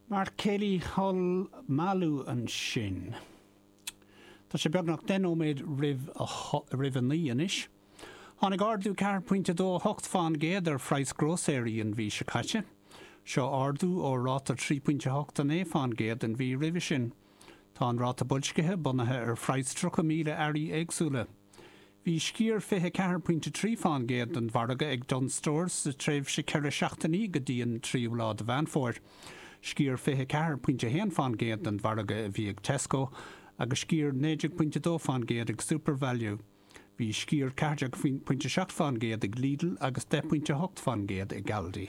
Mark Kelly Hol Malu ansin. Tá sé beagnach 10 nóiméad roimh roimh a 9 anois. Tháinig ardú 4.28% ar phraghas grósaeirí an mhí seo caite. Seo ardú ó ráta 3.89% an mhí roimhe sin. Tá an ráta boilscithe bunaithe ar phraghas 30,000 earraí éagsúla. Bhí sciar 24.3% den mhargadh ag Dunnes Stores sa tréimhse 4 seachtainí go dtí an tríú lá de Mheán Fómhair. Sciar 24.1% den mhargadh a bhí ag Tesco agus sciar 19.2% ag SuperValu. Bhí sciar 14.7% ag Lidl agus 10.8% ag Aldi.